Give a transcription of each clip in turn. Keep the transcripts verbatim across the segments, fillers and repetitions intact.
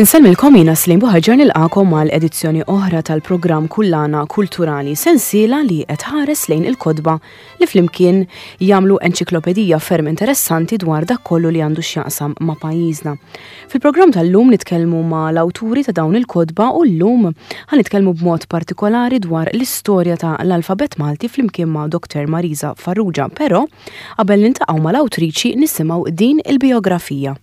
Insellmilkom, jiena Slim Buħaġar, nilqagħkom għal edizzjoni oħra tal-programm Kullana Kulturali, sensiela li qed tħares lejn il-kotba li flimkien jagħmlu enċiklopedija ferm interessanti dwar dak kollu li għandu x'jaqsam ma' pajjiżna. Fil-programm tal-lum nitkellmu ma' l-awturi ta' dawn il-kotba u llum ħa nitkellmu b'mod partikolari dwar l-istorja ta' l-alfabet Malti flimkien ma' Doktor Marisa Farrugia, però qabel niltaqgħu mal-awtriċi nisimgħu din il-biografija.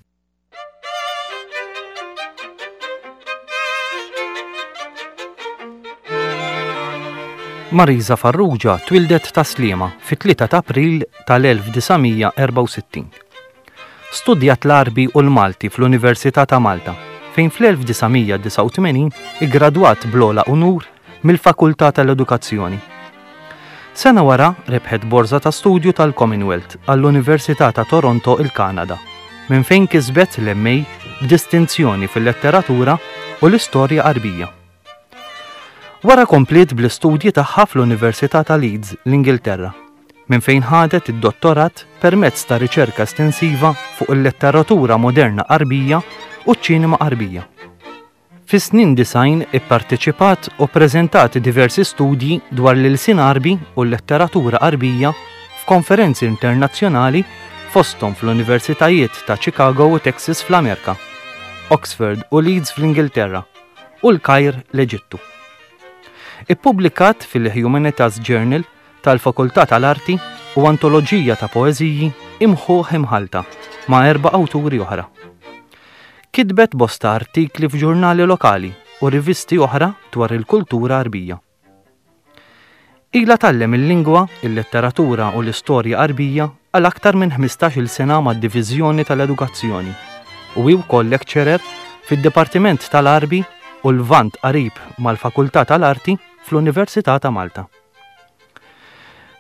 Marisa Farrugia twildet Tas-Sliema fit-tlieta ta' April tal-elf disa' mija erbgħa u sittin. Studjat l-Għarbi u l-Malti fl-Università ta' Malta, fejn fl-elf disa' mija disgħa u tmenin iggradwat bl-ogħla unur mill-Fakultà tal-Edukazzjoni. Sena wara rebħet borza ta' studju tal-Commonwealth għall-Università ta' Toronto, il-Kanada, minn fejn kisbet l-M A b'distinzjoni fil-letteratura u l-istorja Għarbija. Wara kompliet bl-istudji tagħha fl-Università ta' Leeds, l-Ingilterra, minn fejn ħadet id-dottorat permezz ta' riċerka estensiva fuq il-letteratura moderna Għarbija u ċ-ċinema Għarbija. Fis-snin disgħin ipparteċipat u preżentat diversi studji dwar l-ilsien Għarbi u l-letteratura Għarbija f'konferenzi internazzjonali, fosthom fl-Universitajiet ta' Chicago u Texas fl-Amerika, Oxford u Leeds fl-Ingilterra u l-Kajr, l-Eġittu. Ippubblikat fil-Humanitas Journal tal-Fakultà tal-Arti u antoloġija ta' poeżiji, Imħuħ Imħallta, ma' erba' awturi oħra. Kitbet bosta artikli f'ġurnali lokali u rivisti oħra dwar il-kultura Għarbija. Ila tgħallem il-lingwa, il-letteratura u l-istorja Għarbija għal aktar minn ħmistax-il sena mad-Diviżjoni tal-Edukazzjoni u hi wkoll lecturer fid-Dipartiment tal-Għarbi u l-Lvant Qarib mal-Fakultà tal-Arti fl-Università ta' Malta.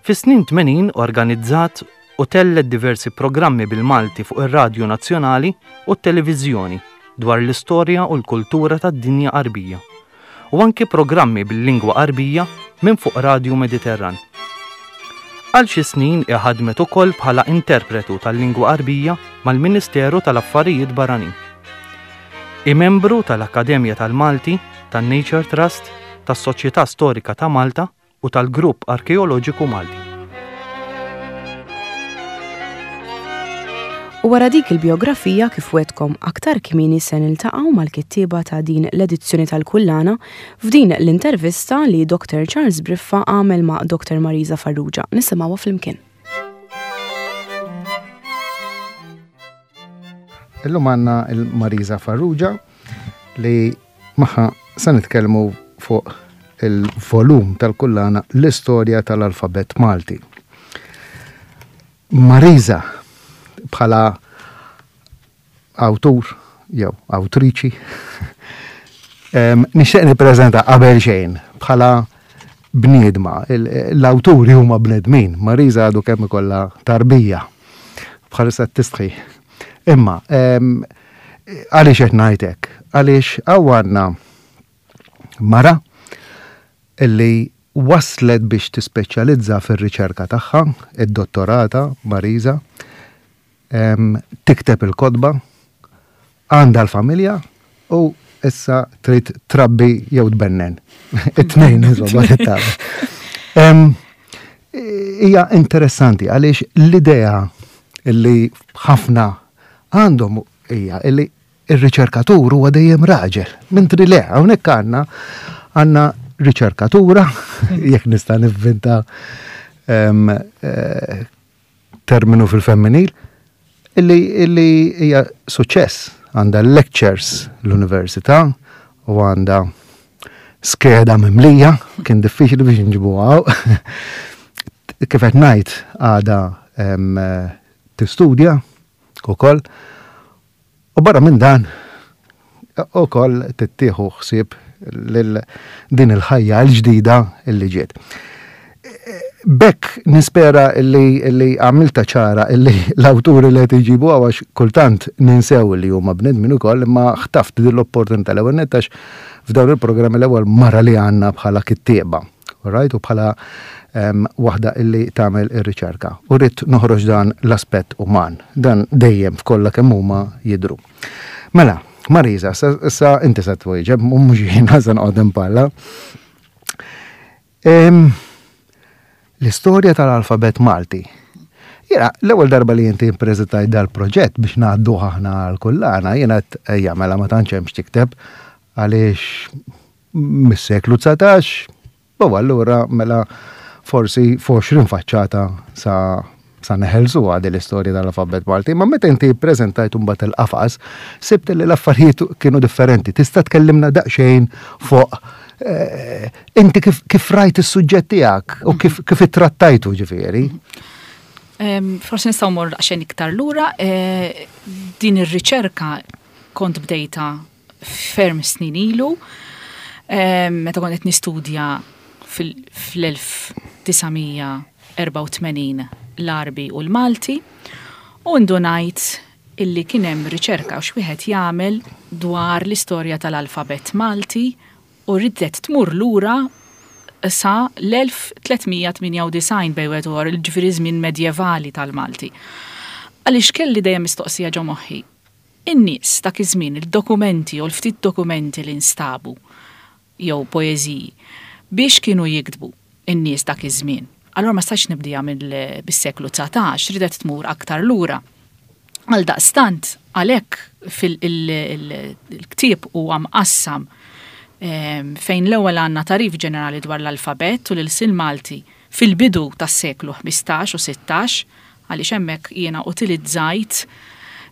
Fis-snin tmenin organizzat u tellet diversi programmi bil-Malti fuq ir-Radju Nazzjonali u t-Televiżjoni dwar l-istorja u l-kultura tad-dinja Għarbija u anki programmi bil-lingwa Għarbija minn fuq Radju Mediterran. Għal xi snin ħadmet ukoll bħala interpretu tal-lingwa Għarbija mal-Ministeru tal-Affarijiet Barranin. Hi membru tal-Akkademja tal-Malti, tan-Nature Trust, tas-Soċjetà Storika ta' Malta u tal-Grupp Arkeoloġiku Malti. U wara dik il-biografija, kif wegħedtkom aktar kmieni, se niltaqgħu mal-kittieba ta' din l-edizzjoni tal-Kullana f'din l-intervista li Doktor Charles Briffa għamel ma' Doktor Marisa Farrugia. Nisimgħuha flimkien. Illum għandna il-Marisa Farrugia li magħha se nitkellmu fuq il-volum tal-kullana L-Istorja tal-Alfabet Malti. Marisa, bħala awtur jew awtriċi, nixtieq nippreżenta qabel xejn bħala bniedma. L-awturi huma bnedmin. Marisa għadu kemm ikollha tarbija. Bħalissa tistħi. Imma għaliex qed ngħidlek? Għaliex hawn għandna mara illi waslet biex tispeċjalizza fir-riċerka tagħha, id-dottorata Marisa, tikteb il-kotba, għandha l-familja u issa trid trabbi jew tbennen. It-tnejn, insomma, Hija interessanti għaliex l-idea illi ħafna għandhom hija illi ir-riċerkatur huwa dejjem raġel. Mentri le, hawnhekk għandna għandna riċerkatura, jekk nista' nivvinta eh, terminu fil-femminil, illi illi hija suċċess, għandha lectures l-università u għandha skeda mimlija, kien diffiċli biex nġibuha. Kif qed ngħid, għadha tistudja ukoll. U barra minn dan ukoll tittieħu ħsieb lil din il-ħajja l-ġdida illi ġiet. B'hekk nispera illi, illi għamilta ċara illi l-awturi li qed iġibu, għax kultant ninsew li huma bnedmin ukoll, imma ħtaft din l-opportunità l-ewwel nett għax f'dawn il-programmi l-ewwel mara li għandna bħala kittieba. Right? U bħala um, waħda illi tagħmel ir-riċerka. U rrid noħroġ dan l-aspett uman. Dan dejjem f'kollha kemm huma jidru. Mela, Marisa, issa inti se twieġeb, mhux jiena se noqgħod impalla. L-istorja tal-alfabet Malti. Jiena, l-ewwel darba li inti ppreżentajt dal-proġett biex ngħadduh aħna għal-kullana, jiena ejja mela ma tantx hemm x'tikteb għaliex mis-seklu dsatax, u allura mela forsi f'għoxrin faċċata sa sa neħelsu għadi l-istorja tal-alfabet Malti. Ma meta inti ppreżentajt mbagħad il-qafas, sibt li l-affarijiet kienu differenti. Tista' tkellimna daqsxejn fuq eh, inti kif, kif rajt is-suġġett tiegħek u kif, kif ittrattajtu ġifieri? Forsi nistgħu mmorru daqsxejn iktar lura, eh, din ir-riċerka kont bdejta ferm snin ilu, meta kont qed nistudja fl-elf disa' mija erbgħa u tmenin l-Għarbi u l-Malti, u ndunajt illi kien hemm riċerka u x'wieħed jagħmel dwar l-istorja tal-alfabet Malti u ridet tmur lura sa l-elf tliet mija tmienja u disgħin bejn wieħed u ieħor, ġifieri żmien medjevali tal-Malti. Għaliex kelli dejjem mistoqsija ġo moħħi. In-nies dak iż-żmien, il-dokumenti u l-ftit dokumenti li nstabu jew poeżiji biex kienu jiktbu in-nies dak iż-żmien. Allora ma stajtx nibdija mill-, bis-seklu dsatax, ridet tmur aktar lura. Għal daqstant, għalhekk fil-ktieb huwa mqassam, em, fejn l-ewwel għandna tarif ġenerali dwar l-alfabet u l-ilsien Malti fil-bidu tas-seklu ħmistax u sittax, għaliex hemmhekk jiena utilizzajt,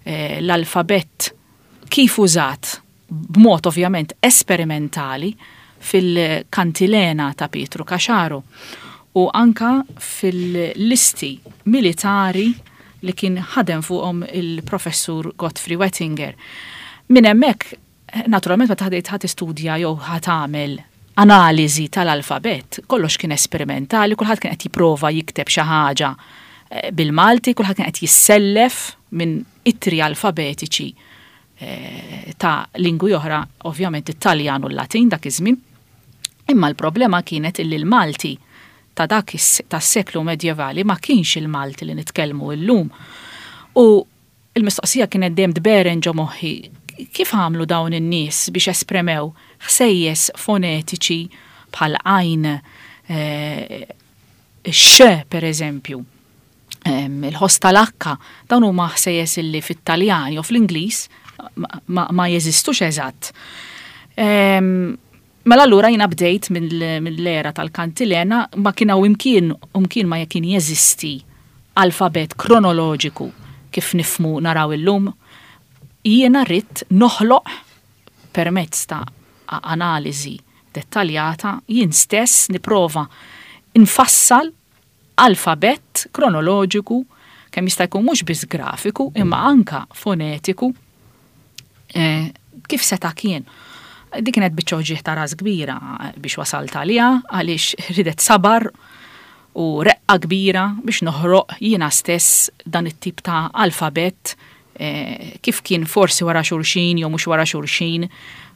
eh, l-alfabet kif użat b'mod ovvjament esperimentali fil-kantilena ta' Pietru Caxaro u anka fil-listi militari li kien ħadem fuqhom il-professur Godfrey Wettinger. Minn hemmhekk, naturalment meta ħadejt ħadd istudja jew ħadd tagħmel analiżi tal-alfabet, kollox kien esperimentali, kulħadd kien qed jipprova jikteb xi ħaġa, eh, bil-Malti, kulħadd kien qed jissellef minn ittri alfabetiċi, eh, ta' lingwi oħra, ovvjament it-Taljan u l-Latin dak iż-żmien. Imma l-problema kienet illi l-Malti ta' dak is-, tas-seklu medjevali ma kienx il-Malti li nitkellmu llum. U il-mistoqsija kienet dejjem tberen ġo moħħi, kif għamlu dawn in-nies biex espremew ħsejjes fonetiċi bħal għajn, eh, x per eżempju, em, il-ħoss tal-akka, dawn huma ħsejjes illi fit-Taljan jew fl-Ingliż ma, ma, ma jeżistux eżatt. Em, Mela allura jiena bdejt mill-, mill-era tal-kantilena, ma kien hawn imkien, imkien ma kien jeżisti alfabet kronoloġiku kif nifmu naraw illum. Jiena rrid noħloq permezz ta' a-, analiżi dettaljata, jien stess nipprova infassal alfabet kronoloġiku kemm jista' jkun mhux biss grafiku imma anka fonetiku, eh, kif seta' kien. Dik kienet biċċa uġigħ ta' ras kbira biex wasalt għaliha, għaliex ridet sabar u reqqa kbira biex noħroq jiena stess dan it-tip ta' alfabet, eh, kif kien forsi wara xulxin jew mhux wara xulxin,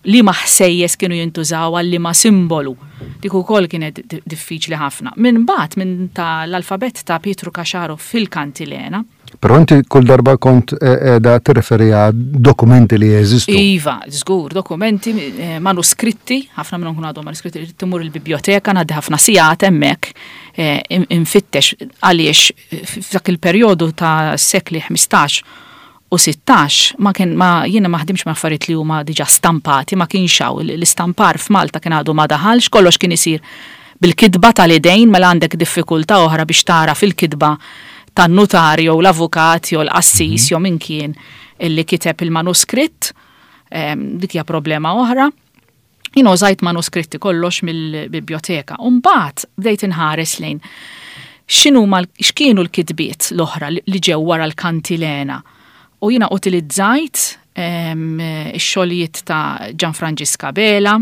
li ma ħsejjes kienu jintużaw għal liema simbolu. Dik ukoll kienet di-, diffiċli ħafna. Minn bagħad minn ta' l-alfabet ta' Pietru Caxaro fil-kantilena. Però inti kull darba kont, eh, eh, da tirreferi għal dokumenti li jeżistu. Iva, żgur, dokumenti, eh, manuskritti, ħafna minnhom kienu għadhom manuskritti, irid timur il-biblioteka, ngħaddi ħafna sigħat hemmhekk, eh, in-, infittex għaliex f'dak il-perjodu ta' sekli ħmistax u sittax ma kien, ma jiena ma ħdimx ma' affarijiet li huma diġà stampati, ma kienx hawn, l-, l-istampar f'Malta kien għadu ma daħalx, kollox kien isir bil-kitba tal-idejn, mela għandek diffikultà oħra biex tara fil-kitba tan-nutar jew l-avukat jew l-qassis jew min kien illi kiteb il-manuskritt, ehm, dik hija problema oħra. Jien użajt manuskritti kollox mill-biblioteka. U mbagħad bdejt inħares lejn x'inhuma l-, x'kienu l-kitbiet l-oħra li, li ġew wara l-kantilena. U jiena utilizzajt, ehm, ix-xogħlijiet ta' Gianfrancisca Abela,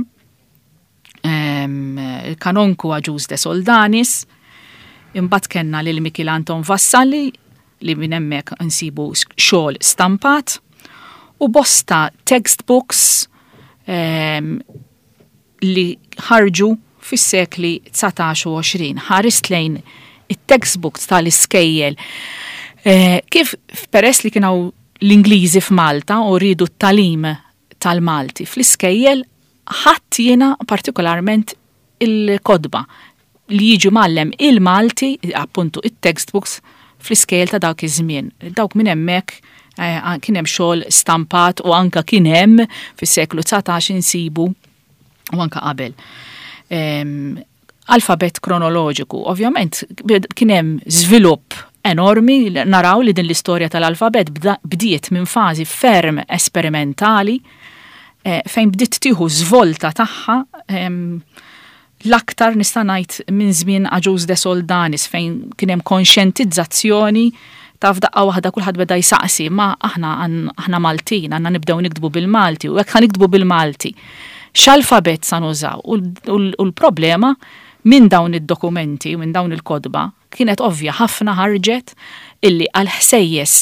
ehm, il-Kanonku Agius de Soldanis, imbagħad kellna lil Mikiel Anton Vassalli li minn hemmhekk insibu s-, xogħol stampat u bosta textbooks, ehm, li ħarġu fis-sekli dsatax u għoxrin. Ħarist lejn it-textbooks tal-iskejjel. Eh, kif peress li kien hawn l-Ingliżi f'Malta u rridu t-talim tal-Malti fl-iskejjel ħadd jiena partikolarment il-kotba li jiġu mgħallem il-Malti, appuntu it-textbooks fl-iskejjel ta' dawk iż-żmien. Dawk minn hemmhekk eh, kien hemm xogħol stampat u anka kien hemm fis-seklu dsatax insibu u anka qabel. Em, alfabet kronoloġiku. Ovvjament kien hemm żvilupp enormi, naraw li din l-istorja tal-alfabet bda- bdiet minn fażi ferm esperimentali eh, fejn bdiet tieħu żvolta tagħha em, l-aktar nista' ngħid minn żmien Agius de Soldanis fejn kien hemm konxjentizzazzjoni ta' f'daqqa waħda kulħadd beda jsaqsi ma aħna għan- aħna Maltin għandna nibdew niktbu bil-Malti u jekk ħa niktbu bil-Malti. X'alfabet sa nużaw? U l- u l- u l-problema minn dawn id-dokumenti, minn dawn il-kotba, kienet ovvja ħafna ħarġet illi għal-ħsejjes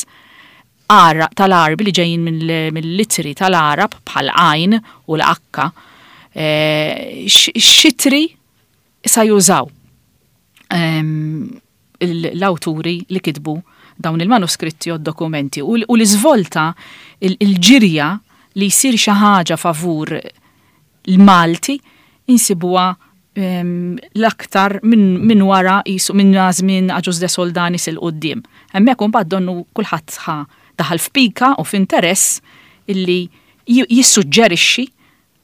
Ara- tal-Għarbi li ġejjin mill- mill-ittri tal-Għarab bħal għajn u l-akka, eh, x- x'ittri sa jużaw em, il- l-awturi li kitbu dawn il-manuskritti u d-dokumenti u l- u l-iżvolta il- il-ġirja li jsir xi ħaġa favur l-Malti insibuha em, l-aktar minn min wara jisu minn żmien Agius de Soldanis 'il quddiem. Hemmhekk imbagħad donnu kulħadd ħa daħal f'pika u f'interess illi ji- jissuġġerixxi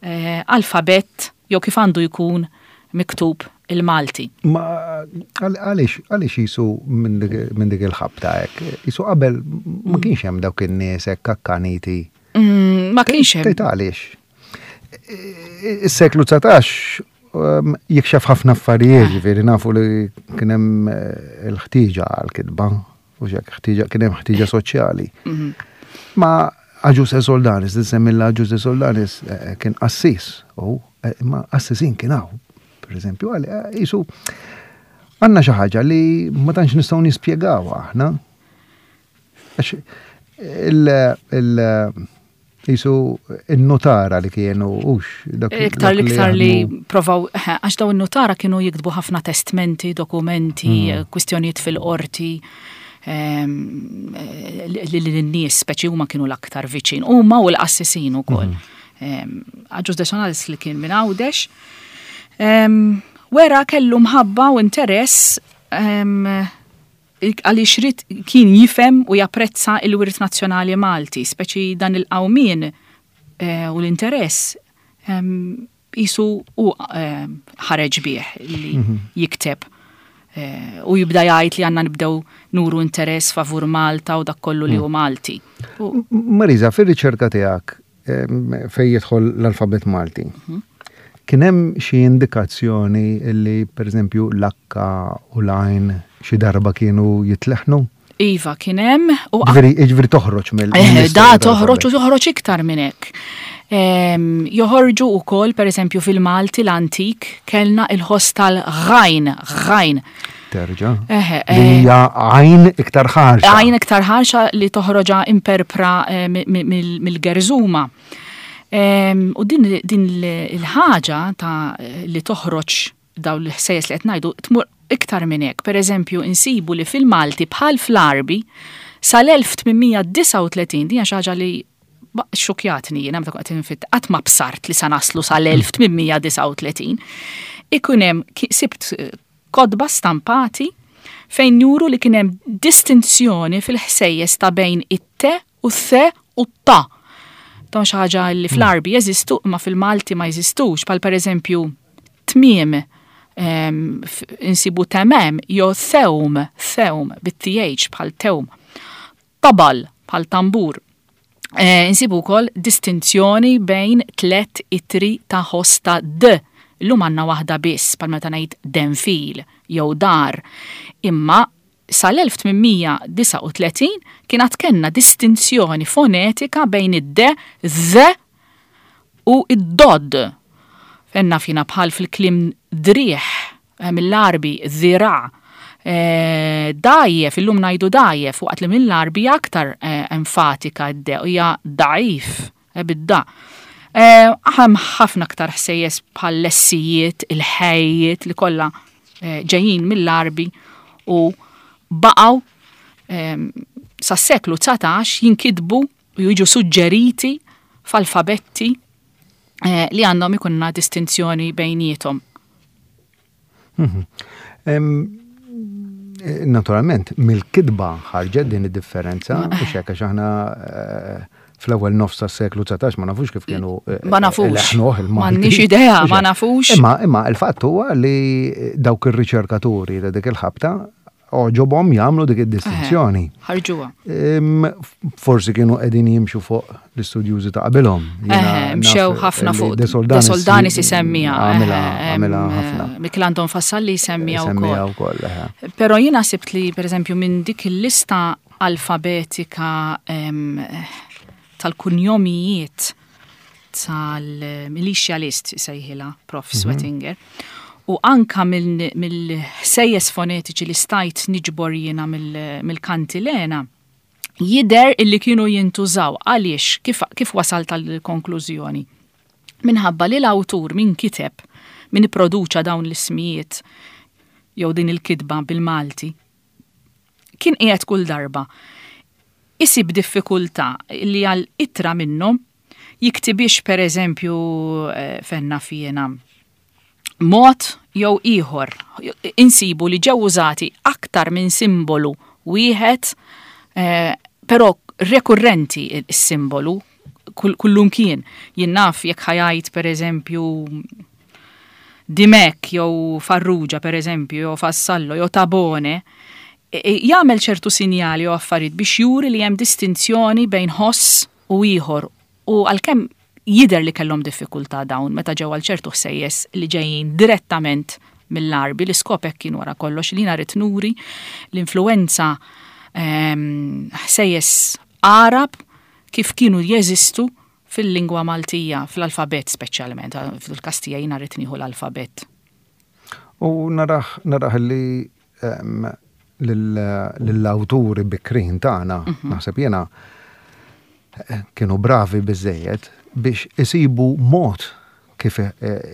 eh, alfabett jew kif għandu jkun miktub il-Malti. Ma għal- għaliex għaliex jisu minn dik minn dik il-ħabta hekk? Jisu qabel ma kienx hemm dawk in-nies hekk akkaniti. Mm, Ma kienx hemm. Tgħid għaliex. Is-seklu dsatax um, jikxef ħafna affarijiet, ġifieri nafu li kien hemm eh, il-ħtieġa għal-kitba, u xek ħtieġa kien hemm ħtieġa soċjali. Ma Agius de Soldanis, semmilla Agius de Soldanis eh, kien qassis, u eh, imma qassisin kien hawn, per eżempju, għal eh, jisu għandna xi ħaġa li ma tantx nistgħu nispjegaw aħna. Għax il, il, jisu il-notara li kienu ux. dak- Iktar dak l-iktar li jaħdmu- provaw, eh, għax daw in-notara kienu jiktbu ħafna testmenti, dokumenti, mm. kwistjonijiet fil-qorti, ehm, eh, li l-nies speċi huma kienu l-aktar viċin, huma u l-qassisin ukoll. Mm. Agius de Soldanis li kien minn Għawdex, ehm, wera kellu mħabba u interess ehm, għaliex ried kien jifhem u japprezza il-wirt nazzjonali Malti, speċi dan il-qawmien eh, u l-interess em, jisu u eh, ħareġ bih li jikteb eh, u jibda jgħid li għandna nibdew nuru interess favur Malta u dak kollu li hu Malti. U- Marisa, fil-riċerka tiegħek em, fej jidħol l-alfabet Malti, kien hemm xi indikazzjoni li per eżempju l-akka u l-għajn xi darba kienu jitleħnu? Iva, kien hemm u Ġifieri ġifieri toħroġ mill Eh, mill-istorja Da toħroġ u tal-alfabet. toħroġ iktar minn hekk. Em, Joħorġu wkoll pereżempju fil-Malti l-antik kellna il-ħoss tal-għajn, għajn. Terġa. Eħe, Li eh, hija għajn iktar ħarxa. Għajn iktar ħarxa li toħroġa imperpra eh, mi- mi- mill- mill-gerżuma. Em, U din din il-ħaġa ta' li toħroġ daw l-ħsejjes li qed ngħidu tmur iktar minn hekk. Per eżempju, insibu li fil-Malti bħal fl-Għarbi sal-elf tmien mija disgħa u tletin, din hija xi ħaġa li ba- xukjatni jiena meta kont qed infitt qatt ma bsart li sa naslu sal-elf tmien mija disgħa u tletin. Ikun hemm ki- sibt eh, kotba stampati fejn juru li kien hemm distinzjoni fil-ħsejjes ta' bejn it-te u t-the u t-ta. Dawn xi ħaġa li fl-Għarbi jeżistu imma fil-Malti ma jeżistux, bħal pereżempju tmiem em, f- insibu temem jew thewm, thewm bit-T H bħal tewm. Tabal bħal tambur. Eh, insibu wkoll distinzjoni bejn tlet ittri ta' ħoss ta' D. Illum għandna waħda biss, bħal meta ngħid denfil jew dar. Imma sal-elf tmien mija disgħa u tletin kien għad kellna distinzjoni fonetika bejn id-D, Z u id-dod. Fenna fina bħal fil-kliem driħ, eh, mill-Għarbi, dhira, eh, dajjef, illum ngħidu dajjef, waqt li mill-Għarbi aktar eh, enfatika d hija da'if, eh, bid-da. Eh, Hemm ħafna aktar ħsejjes bħal l-essijiet, il-ħejjiet li kollha eh, ġejjin mill-Għarbi u baqgħu em, sas-seklu dsatax jinkitbu u jiġu suġġeriti f'alfabetti eh, li għandhom ikunna distinzjoni bejniethom. Mhm. Naturalment, mill-kitba ħarġet din id-differenza, u hekk għax aħna eh, fl-ewwel nofs tas-seklu dsatax ma nafux kif kienu eh, Ma nafux. M'għandniex idea, ma nafux. Imma imma il-fatt huwa li dawk ir-riċerkaturi ta' dik il-ħabta għoġobhom jagħmlu dik id-distinzjoni. Ħarġuha. Forsi kienu qegħdin jimxu fuq l-istudjużi ta' qabilhom. Mxew ħafna fuq. De Soldanis isemmija. Għamilha ħafna. Mikiel Anton Vassalli jisemmija wkoll. Però jiena sibt li pereżempju minn dik il-lista alfabetika tal-kunjomijiet tal-Militia List sejħilha Prof mhm. Sweatinger. U anka mill-ħsejjes fonetiċi li stajt niġbor jiena mill-kantilena, jidher illi kienu jintużaw. Għaliex, kif, kif wasalt għal-konklużjoni? Minħabba li l-awtur min kiteb, min produċa dawn l-ismijiet jew din il-kitba bil-Malti, kien qiegħed kull darba isib diffikultà li għal ittra minnhom jiktibix, per eżempju, eh, fenna fjena mod jew ieħor. Insibu li ġew użati aktar minn simbolu wieħed, eh, però rekurrenti is-simbolu kullum kien. Jien naf jekk ħa jgħid, per eżempju, Dimek jew Farrugia, per eżempju, jew Vassallo jew Tabone, e, e, jagħmel ċertu sinjali jew affarijiet biex juri li hemm distinzjoni bejn ħoss u ieħor, u għalkemm jidher li kellhom diffikultà dawn meta ġew għal ċertu ħsejjes li ġejjin direttament mill-Għarbi, l-iskop hekk kien wara kollox li rrid nuri l-influenza ehm, ħsejjes Għarab kif kienu jeżistu fil-lingwa Maltija, fl-alfabet speċjalment, fil-Kastija jiena rrid nieħu l-alfabet. U naraħ naraħ li ehm, lill-awturi bikrin tagħna, mhm. naħseb jiena, eh, kienu bravi biżejjed biex isibu mod kif eh,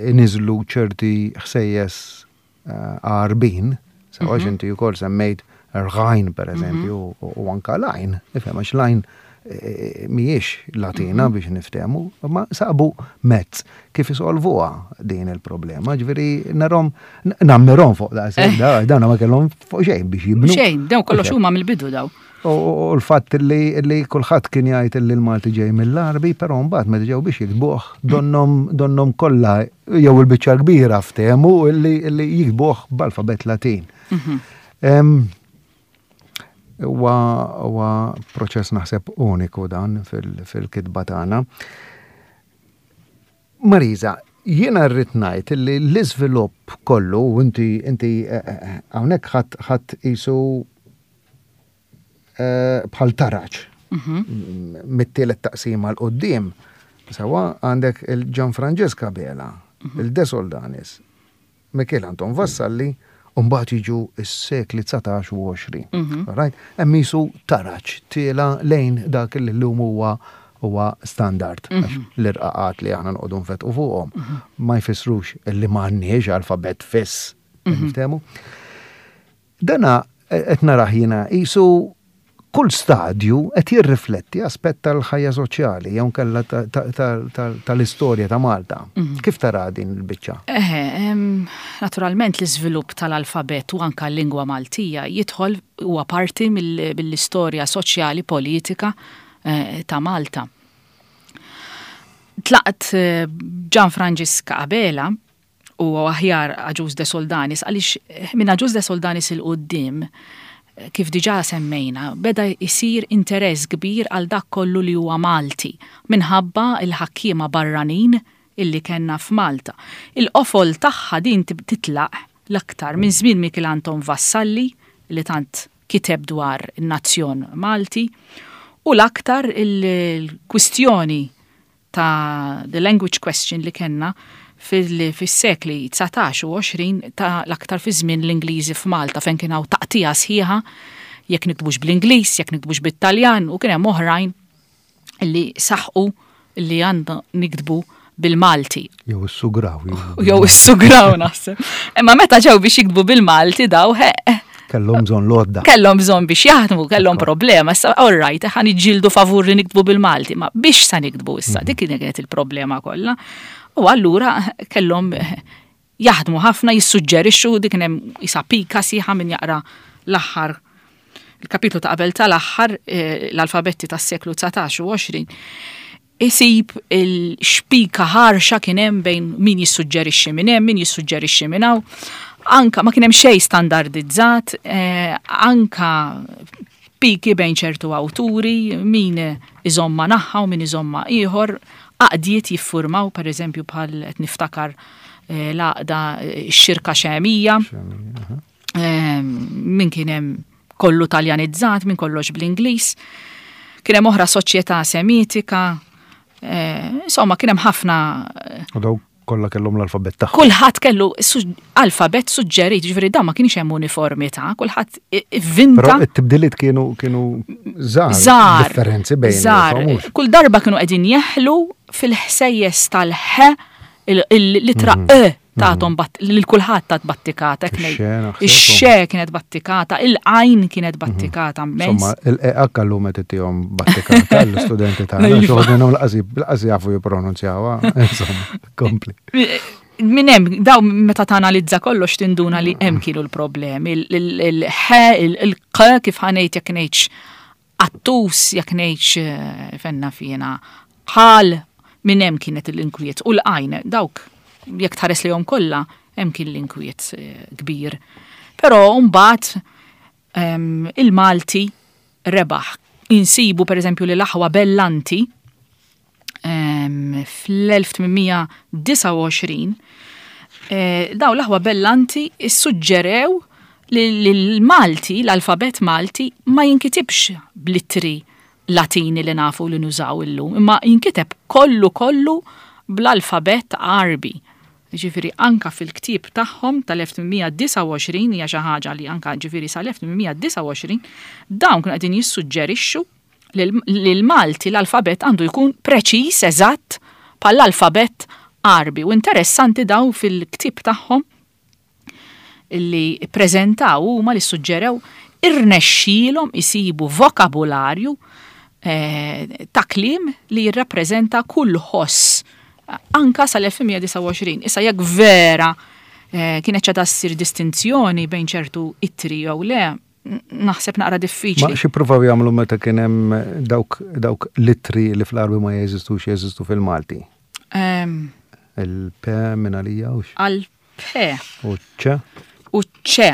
iniżlu ċerti ħsejjes eh, Għarbin, sewa mhm. inti wkoll semmejt rgħajn, per eżempju, mhm. u anka lajn, ifhem, għax lajn eh, mhijiex Latina mhm. biex niftehmu, ma sabu mezz kif isolvuha din il-problema, ġifieri narahom, nammirhom fuq da, dan ma kellhom fuq xejn biex jibnu. Xejn, daw kollox huma mill-bidu daw. U l-fatt li, li kulħadd kien jgħid li l-Malti ġej mill-Għarbi, però mbagħad meta ġew biex jiktbuh donnom donnom kollha jew il-biċċa kbira ftehmu li li jiktbuh b'alfabet Latin. Mhm. Huwa huwa proċess naħseb uniku dan fil-kitba tagħna. Marisa, jiena rrid ngħid li l-iżvilupp kollu, u inti inti eh, eh, hawnhekk ħadd ħadd qisu eh, bħal taraġ mhm. mit-tielet taqsima 'l quddiem. Sewa għandek il-Gian Francesca Bela, mhm. il-De Soldanis, Mikiel Anton Vassalli, u mbagħad jiġu s-sekli dsatax u għoxrin. Mhm. Right? Hemm qisu taraġ tiela lejn dak li llum huwa huwa standard. L-irqaqat li aħna noqogħdu nfetqu fuqhom ma jfissrux illi m'għandniex alfabet fiss. Niftehmu? Dana qed narah jiena qisu kull stadju qed jirrifletti aspett tal-ħajja soċjali jew kellha tal-istorja ta' Malta. Mhm. Kif tara din il-biċċa? Eħe, naturalment l-iżvilupp tal-alfabet u anka l-lingwa Maltija jidħol, huwa parti mill-istorja soċjali politika eh, ta' Malta. Tlaqt eh, Gian Franġisk Abela u aħjar Agius de Soldanis, għaliex eh, minn Agius de Soldanis 'il quddiem, kif diġà semmejna, beda jisir interess kbir għal dak kollu li huwa Malti minħabba il-ħakkiema barranin illi kellna f'Malta. Il-qofol tagħha din titlaq l-aktar minn żmien Mikiel Anton Vassalli, li tant kiteb dwar in-nazzjon Malti, u l-aktar il-kwistjoni ta' the language question li kellna fil-sekli dsatax u għoxrin, ta' l-aktar fi żmien l-Ingliżi f'Malta, fejn kien hawn taqtija sħiħa jekk niktbux bl-Ingliż, jekk niktbux bit-Taljan, u kien hemm oħrajn li saħqu li għandna niktbu bil-Malti. Jew is-sugraw. Jew is-sugraw naħseb. Imma meta ġew biex jiktbu bil-Malti daw, he, Kellhom bżonn l-għodda. Kellhom bżonn biex jaħdmu, kellhom problema. Issa all right, ħa niġġieldu favur li niktbu bil-Malti, ma biex sa niktbu issa, dik kienet il-problema kollha. U allura kellhom jaħdmu ħafna, jissuġġerixxu, dik kien hemm isa pika sħiħa min jaqra l-aħħar il-kapitlu ta' qabel tal-aħħar, eh, l-alfabetti tas-seklu dsatax u għoxrin, isib il-xpika ħarxa kien hemm bejn min jissuġġerixxi minn hemm, min jissuġġerixxi minn hawn. Anka ma kien hemm xejn standardizzat, eh, anka piki bejn ċertu awturi, min iżomma naħa u min iżomma ieħor, għaqdiet jiffurmaw, per eżempju bħal qed niftakar, eh, l-għaqda, eh, x-xirka xemija, eh, min kien hemm kollu taljanizzat, min kollox bl-Ingliż. Kien hemm oħra soċjetà semitika, eh, insomma kien hemm ħafna. U daw kollha kellhom l-alfabet tagħhom. Kulħadd kellu su-, alfabet suġġerit, ġifieri dan ma kienx hemm uniformità, kulħadd i-, ivvinta. Però it-tibdiliet kienu, kienu żgħar, Żgħar, differenzi bejn żgħar. il-famux. Kull darba kienu qegħdin jeħlu fil-ħsejjes tal-ħ, il-, il-, l-ittra Mhm. E tagħhom bat-, lil kulħadd tat battikata, hekk ngħid. Ix-xe, naħseb. Ix-xe kienet battikata, il-għajn kienet battikata immens. Insomma, il-E H llum qed ittihom battikata l-istudenti tagħna, Iva. xi wħud minnhom laqas jib-, laqas jafu jippronunzjawha, insomma, kompli. Min hemm, daw meta tanalizza kollox tinduna li hemm kienu l-problemi, il-, il-, il-ħ, il-, il-q, kif ħanejt jekk ngħidx qattus, jekk ngħidx, eh, fenna fina, ħal, minn hemm kienet l-inkwiet u l-għajn, dawk jekk tħares lejhom kollha hemm kien l-inkwiet, eh, kbir. Però mbagħad, ehm, il-Malti rebaħ. Insibu pereżempju li l-aħwa Bellanti, ehm, fl-elf tmien disa' u għoxrin, eh, daw l-aħwa Bellanti issuġġerew li l-Malti, l-alfabet Malti, ma jinkitibx bl-ittri Latini li nafu li nużaw illum, imma jinkiteb kollu kollu bl-alfabet Għarbi. Ġifieri anka fil-ktieb tagħhom tal-elf tmien disa' u għoxrin, hija xi ħaġa li anka ġifieri sal-elf tmien disa' u għoxrin, dawn kienu qegħdin jissuġġerixxu li l-, li l-Malti l-alfabet għandu jkun preċiż eżatt bħall-alfabet Għarbi. U interessanti daw fil-ktieb tagħhom li ppreżentaw huma li suġġerew irnexxielhom isibu vokabularju, eh, ta' kliem li jirrappreżenta kull ħoss anka sal-elf tmien disa' u għoxrin. Issa jekk vera, eh, kienet ċada ssir distinzjoni bejn ċertu ittri jew le, n-, naħseb naqra diffiċli. Ma xi pruvaw jagħmlu meta kien hemm dawk, dawk l-ittri li fl-Għarbi ma jeżistux, jeżistu fil-Malti? Ehm, Il-P minn għalija u x'? Għal-P. U ċ? U ċ.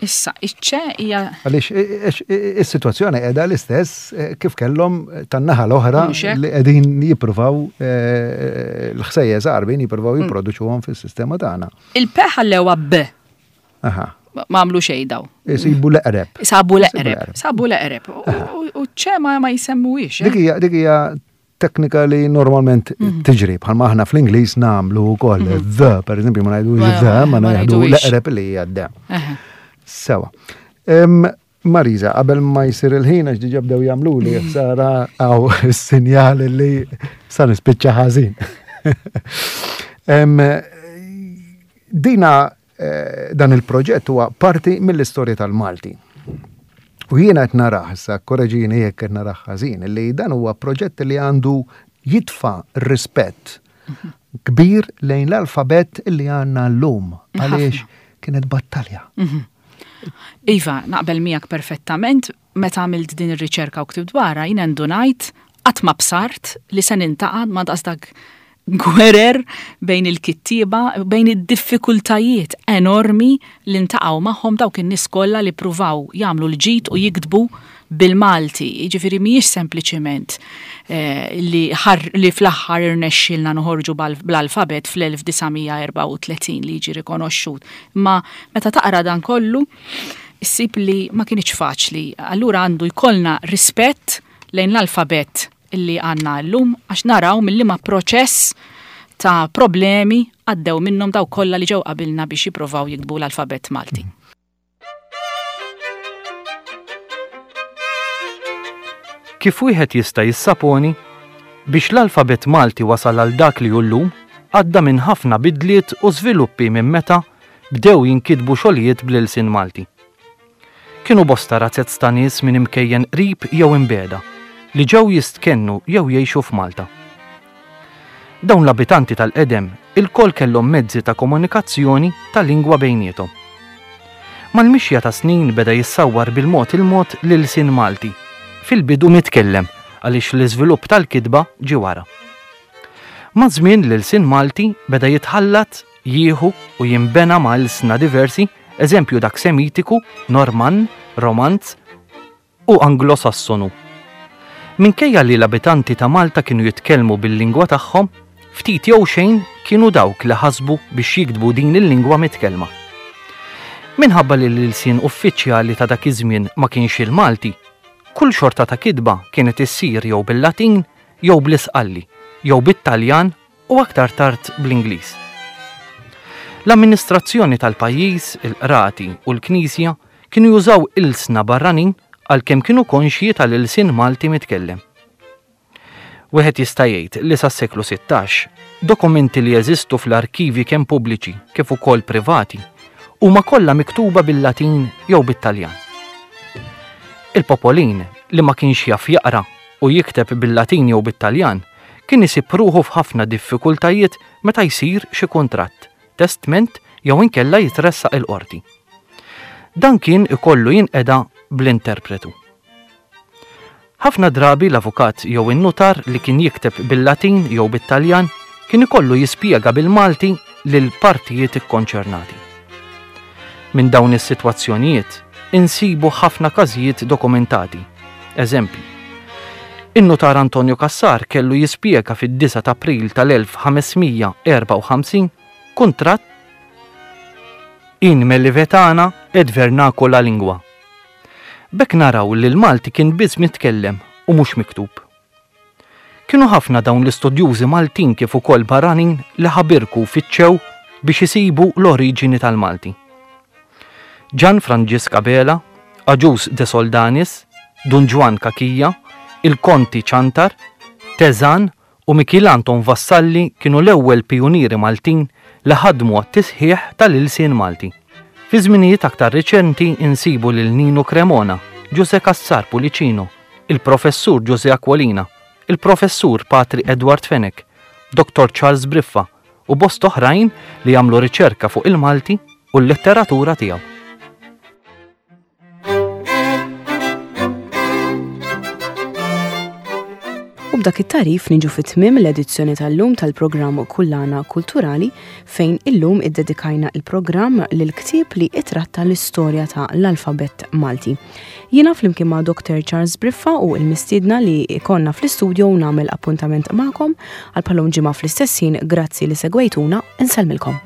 Issa, iċ-ċe hija Għaliex, i-, i-, i-, is-sitwazzjoni qiegħda l-istess, eh, kif kellhom tan-naħa l-oħra Mhux hekk? li qegħdin jippruvaw, eh, l-ħsejjes Għarbin jippruvaw Mm. jipproduċuhom fis-sistema tagħna. Il-P ħallewha B. Aha. Ma għamlu xejn daw. Isibu l-eqreb. Sabu l-eqreb. Isibu l-eqreb. Sabu l-eqreb. U, u, u ċe ma, ma jsemmuhiex, eh? Dik hija, dik hija teknika li normalment Mhm. tiġri, bħalma aħna fl-Ingliż nagħmlu wkoll Mhm. the, per eżempju, ma ngħidux Ma- the, ma ma ngħidu ngħiduhiex. l-eqreb li hija d. Eħe. Sewa. Em, Marisa, qabel ma jsir il-ħin, għax diġà bdew jagħmlu li ħsara għaw is-sinjal li sa nispiċċa ħażin. Em, dina, eh, dan il-proġett huwa parti mill-istorja tal-Malti. U jiena qed narah, issa korreġini jekk qed narah ħażin, li dan huwa proġett li għandu jitfa' rispett kbir lejn l-alfabet li għandna llum, għaliex kienet battalja. Mhm. Iva, naqbel miegħek perfettament, meta għamilt din ir-riċerka u ktibt dwarha, jiena ndunajt qatt ma bsart li se nintaqa' ma daqs dak gwerer bejn il-kittieba, bejn id-diffikultajiet enormi li ntaqgħu magħhom dawk in-nies kollha li pruvaw jagħmlu l-ġid u jiktbu bil-Malti. Jiġifieri mhijiex sempliċiment, eh, li ħar-, li fl-aħħar irnexxielna noħorġu bal-, bl-alfabet fl-elf disa' mija erbgħa u tletin li jiġi rikonoxxut. Ma meta taqra dan kollu, issib li ma kienx faċli. Allura għandu jkollna rispett lejn l-alfabet illi għandna llum, għax naraw mill-liema proċess ta' problemi għaddew minnhom daw kollha li ġew qabilna biex jippruvaw jiktbu l-alfabet Malti. Kif wieħed jista' jissaponi, biex l-alfabet Malti wasal għal dak li hu llum, għadda minn ħafna bidliet u żviluppi minn meta bdew jinkitbu xogħlijiet bl-ilsien Malti. Kienu bosta razzez ta' nies minn imkejjen qrib jew imbiegħda li ġew jistkennu jew jgħixu f'Malta. Dawn l-abitanti tal-qedem ilkoll kellhom mezzi ta' komunikazzjoni ta' lingwa bejniethom. Mal-mixja ta' snin beda jissawwar bil-mod il-mod l-ilsien Malti, fil-bidu mitkellem għaliex l-iżvilupp tal-kitba ġie wara. Maż-żmien l-ilsien Malti beda jitħallat, jieħu u jinbena ma' ilsna diversi, eżempju dak Semitiku, Normann, Romanz u Anglo-Sassonu. Minkejja li l-abitanti ta' Malta kienu jitkellmu bil-lingwa tagħhom, ftit jew xejn kienu dawk li ħasbu biex jiktbu din il-lingwa mitkellma. Minħabba li l-ilsien uffiċjali ta' dak iż-żmien ma kienx il-Malti, kull xorta ta' kitba kienet issir jew bil-Latin jew bl-Isqalli, jew bit-Taljan u aktar tard bl-Ingliż. L-amministrazzjoni tal-pajjiż, il-qrati u l-Knisja kienu jużaw ilsna barranin għalkemm kienu konxji tal-ilsien Malti mitkellem. Wieħed jista' jgħid li sas-seklu sittax, dokumenti li jeżistu fl-arkivi kemm pubbliċi kif ukoll privati huma kollha miktuba bil-Latin jew bit-Taljan. Il-popolin li ma kienx jaf jaqra u jikteb bil-Latin jew bit-Taljan kien isib ruħu f'ħafna diffikultajiet meta jsir xi kuntratt, testment jew inkella jitressaq il-qorti. Dan kien ikollu jinqeda bl-interpretu. Ħafna drabi l-avukat jew in-nutar li kien jikteb bil-Latin jew bit-Taljan kien ikollu jispjega bil-Malti lil partijiet ikkonċernati. Minn dawn is-sitwazzjonijiet insibu ħafna każijiet dokumentati. Eżempju, in-nutar Antonio Cassar kellu jispjega fid-disgħa ta' April tal-elf ħamesmija erbgħa u ħamsin kuntratt in Melivetana et vernacola lingua. B'hekk naraw li l-Malti kien biss mitkellem u mhux miktub. Kienu ħafna dawn l-istudjużi Maltin kif ukoll barranin li ħabirku fittxew biex isibu l-oriġini tal-Malti. Gian Franġisk Abela, Agius de Soldanis, Dun Ġwann Cachia, il-Konti Ciantar, Teżan u Mikiel Anton Vassalli kienu l-ewwel pijunieri Maltin li ħadmu għat-tisħiħ tal-ilsien Malti. Fi żminijiet aktar riċenti insibu lil Nino Cremona, Giuse Cassar Pullicino, il-Professur Giuse Aquilina, il-Professur Patri Edward Fenech, Dottor Charles Briffa u bost oħrajn li jagħmlu riċerka fuq il-Malti u l-letteratura tiegħu. U b'dak it-tarif niġu fit-tmiem l-edizzjoni tal-lum tal-programm Kullana Kulturali fejn illum iddedikajna il-programm lil ktieb li itratta l-istorja ta' l-alfabett Malti. Jiena flimkien ma' Doktor Charles Briffa u l-mistiedna li ikonna fl-istudio nagħmel appuntament magħkom għal bħalhom ġimgħa fl-istess ħin. Grazzi li segwejtuna, insellmilkom.